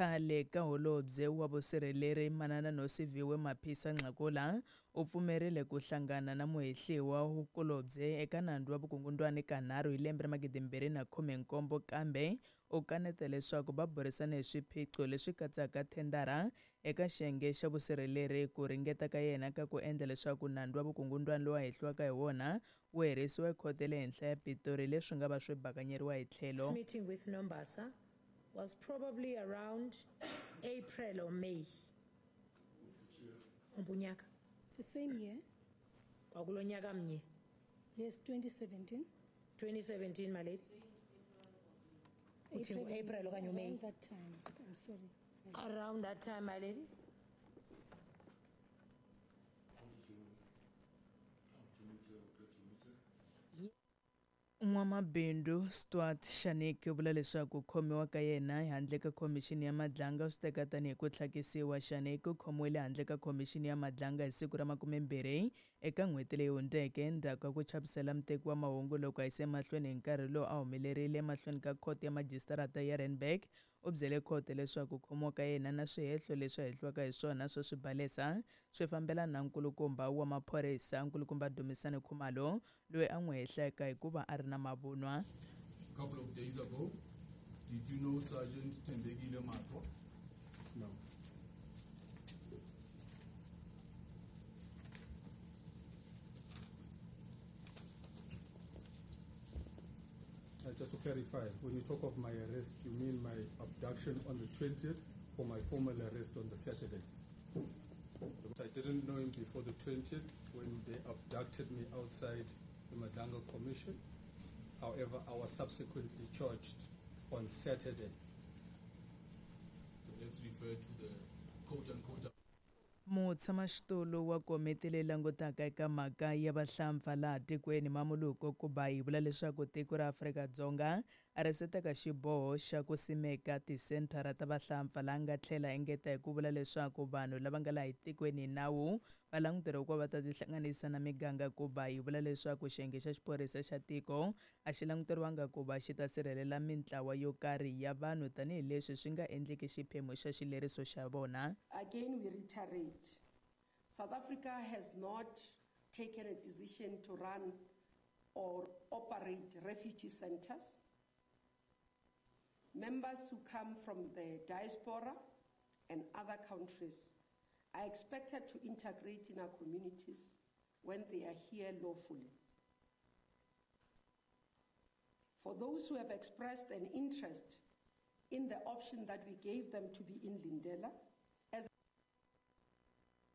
Khale ka holobye wa vusirheleri Manana Nosiviwe Mapisa Nqakula u pfumerile ku hlangana na muhehliwa kulobye eka nandzu wa vukungundwani kanharhu hi lembe ra 2017 kambe u kaneta leswaku va burisane hi swiphiqo leswi katsaka thendara eka xiyenge xa vusirheleri ku ringeta ka yena ka ku endla leswaku nandzu wa vukungundwani lowu a hehliwaka hi wona wu herisiwa ekhoto ya le henhla ya Pitori leswi nga va swi bakanyeriwa hi tlhelo. Meeting with Nombasa was probably around April or May. Umbunyaka. The same year. Kwakulo nyaka mnye. Yes, 2017. 2017, my lady. Uthi ngu-April okanye uMay? Around that time. I'm sorry. Around that time, my lady. N'wamabindzu Stuart Shaniki u vula leswaku ku khomiwa ka yena handle ka khomixini ya Madlanga u swi teka tanihi ku tlhakisiwa. Shaniki u khomiwile handle ka khomixini ya Madlanga hi siku ra 20 eka n'hweti leyi hundzeke endzhaku ka ku chavisela muteki wa mahungu loko a yise emahlweni hi nkarhi lowu a humelerile emahlweni ka khoto ya majisitarata ya Randburg. U byele khoto leswaku ku khomiwa ka yena na swihehlo leswi a hehliwaka hi swona swo swibalesa swi fambelana na nkulukumba wa maphorisa nkulukumba Dumisani Khumalo loyi a n'wi hehlaka hi ku va a ri na mavunwa. A couple of days ago, did you know Sergeant Thembekile Matwa? No. Just to clarify, when you talk of my arrest, you mean my abduction on the 20th or my formal arrest on the Saturday? Because I didn't know him before the 20th when they abducted me outside the Madlanga Commission. However, I was subsequently charged on Saturday. Let's refer to the quote-unquote. Mutshamaxitulu wa komiti leyi langutaka eka mhaka ya vahlampfa laha tikweni Mamoloko Kubayi vula leswaku tiko ra Afrika-Dzonga a ri se teka xiboho xa ku simeka tisenthara ta vahlampfa laha nga tlhela engeta hi ku vula leswaku vanhu lava nga laha etikweni hi nawu va languteriwa ku va ta tihlanganisa na miganga. Kubayi vula leswaku xiyenge xa xiphorisa xa tiko a xi languteriwanga ku va xi ta sirhelela mintlawa yo karhi ya vanhu tanihileswi swi nga endliki xiphemu xa xileriso xa vona. Again, we reiterate, South Africa has not taken a decision to run or operate refugee centers. Members who come from the diaspora and other countries are expected to integrate in our communities when they are here lawfully. For those who have expressed an interest in the option that we gave them to be in Lindela, as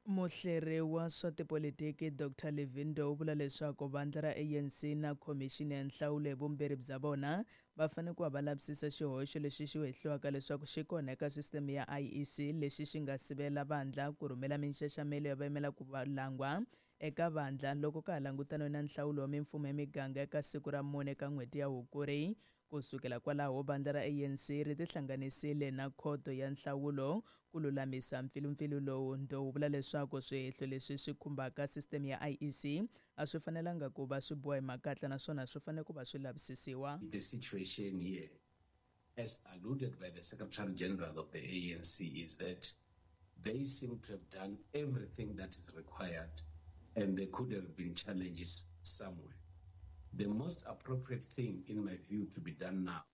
Muhleri wa swa tipolitiki Dr Levin u vula leswaku vandla ra ANC na khomixini ya nhlawulo hi vumbirhi bya vona va fanele ku va va lavisisa xihoxo lexi xi hehliwaka leswaku xi kona eka sisiteme ya IEC lexi xi nga sivela vandla ku rhumela minxaxamelo ya vayimela ku langwa eka vandla loko ka ha langutaniwe na nhlawulo wa mimfumo ya miganga eka siku ra 4 eka n'hweti ya Hukuri. Ku sukela kwalaho vandla ra ANC ri tihlanganisile na khoto ya nhlawulo ku lulamisa mpfilumpfilu lowu. Ndou vula leswaku swihehlo leswi swi khumbaka sisiteme ya IEC a swi fanelanga ku va swi boha hi makatla naswona swi fanele ku va swi lavisisiwa. The situation here, as alluded by the Secretary General of the ANC, is that they seem to have done everything that is required and there could have been challenges somewhere. The most appropriate thing, in my view, to be done now.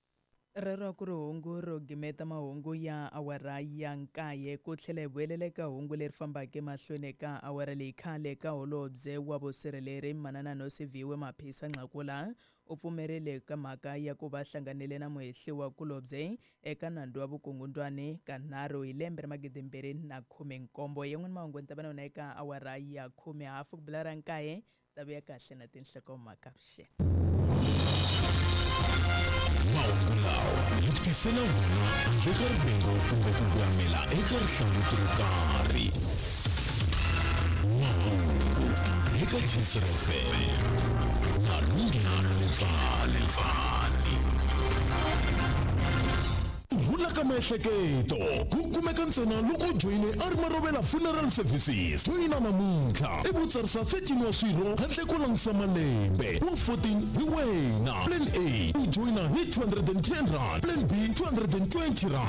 Rero ku ri hungu ro gimeta mahungu ya awara ya 9 ku tlhela hi vuyelela eka hungu leri fambaka emahlweni eka awara leyi khale ka holobye wa vusirheleri Manana Nosiviwe Mapisa Nqakula u pfumerile ka mhaka ya ku va hlanganile na muhehliwa kulobye eka nandzu wa vukungundwani kanharhu hi lembe ra 2017. Yan'wana mahungu ni ta va na yona eka awara ya 10 hafu ku bila ra 9 ta vuya kahle na tinhlokomhaka vuxeni. Mahungu lawa hi ku tisela wona handle ka rivengo kumbe ku gwamela eka rihlanguti ro karhi. Mahungu eka Gcina FM na Lunghelo Letsane. Rhula ka miehleketo ku kumeka ntsena loko u joyine a ri Marovela Funeral Services. Joyina namuntlha i vutsarisa 13 wa swirho handle ko langutisa malembe wa 14 hi wena. Plan A u joyina hi 210 rand, Plan B 220 rand.